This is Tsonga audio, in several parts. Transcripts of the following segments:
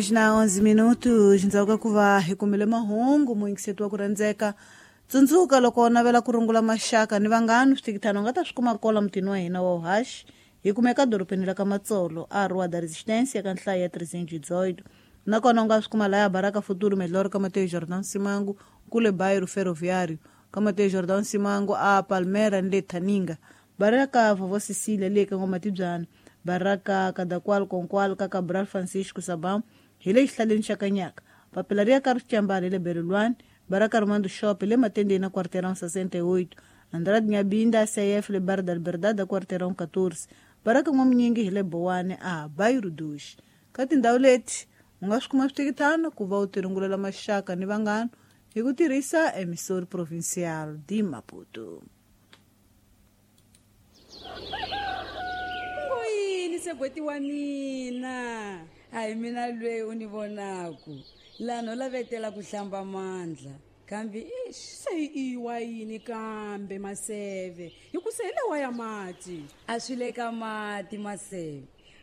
Na 11 minutos ndzhaku ka ku va hi kumile mahungu, muyingiseti wa ku rhandzeka, tsundzuka loko u navela ku rungula maxaka ni vanghani, switikithano u nga ta swi kuma kola mutini wa hina wa uhaxi. Hi kumeka dorobeni la ka Matsolo, a Rua da Resistência, ka nhlayo ya 318. Nakona u nga swi kuma laya Baraka Futuro Melhor, ka Mateo Jordan Simangu, kule Bairro Ferroviário, ka Mateo Jordan Simangu, a Palmera ni le Thaninga, Baraka Vovó Cecília le ka Ngomatibyana, Baraka Kadakwal Konkwal, ka Cabral Francisco Sabam, hi le xihlaleni xa Kanyaka, papila ri ya ka Rixambala hi le Berelwani, Baraka Romando Shop le Matendeni na Quarteirão 68, Andrade Nyabinda CF le Bar da Liberdade, Quarteirão 14, Baraka N'wamunyingi hi le Bowani, a Bairro Dos. Ka tindhawu leti u nga swi kuma switikithano ku va u tirungulela maxaka ni vanghana hi ku tirhisa Emissor Provincial de Maputo. Yini segweti wa mina? A hi mina lweyi u ni vonaku laha, no lavetela ku hlamba mandla, kambe ix. Se iwa yini kambe Maseve, hi ku se hi lewa ya mati? A swi le ka mati Maseve,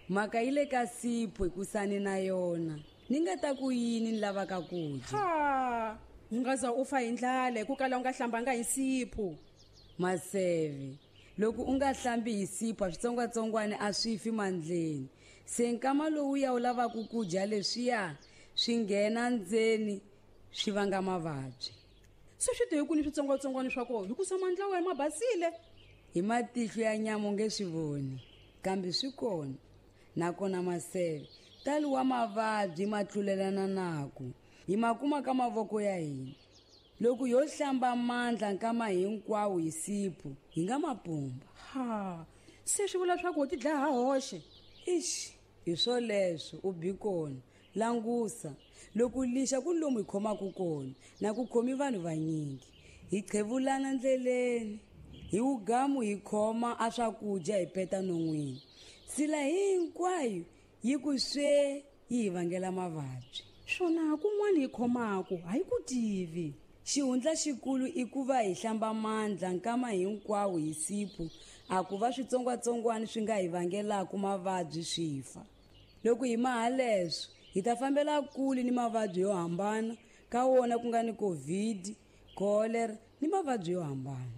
mhaka yi le ka sipho, hikusani na yona ni nga ta ku yini ni lavaka ku dya. Ha, u nga za u fa hi ndlala hi ku kala u nga hlambanga hi sipho. Maseve, loko u nga hlambi hi sipho, switsongwatsongwana a swi fi mandleni. Se nkama lowuya u lavaka ku dya, leswiya swi nghena ndzeni, swi vanga mavabyi. Se swi te hi kwini switsongwatsongwana swa kona, hikusa mandla wena ma basile? Hi matihlo ya nyama u nge swi voni, kambe swi kona. Nakona Maseve, tali wa mavabyi ma tlulelana naku hi ma kuma ka mavoko ya hina. Loko yo hlamba mandla nkama hinkwawo hi sipho, hi nga mapumba. Ha, se swi vula swa ku u ti dlaya ha hoxe. Ixi, hi swoleswo u bi kona. Langusa, loko lixa ku lomu hi khomaka kona na ku khomi vanhu vanyingi, hi qhevulana ndleleni, hi wugamu hi khoma a swakudya, hi peta non'wini, sila hinkwayo yi ku swe, yi hi vangela mavabyi. Swona kun'wana hi khomaku a hi ku tivi. Xihundla xikulu i ku va hi hlamba mandla nkama hinkwawo hi sipho, a ku va switsongwatsongwana swi nga hi vangelaku mavabyi swi fa. Loko hi maha leswo, hi ta fambela kule ni mavabyi yo hambana, ka wona ku nga ni COVID, cholera ni mavabyi yo hambana.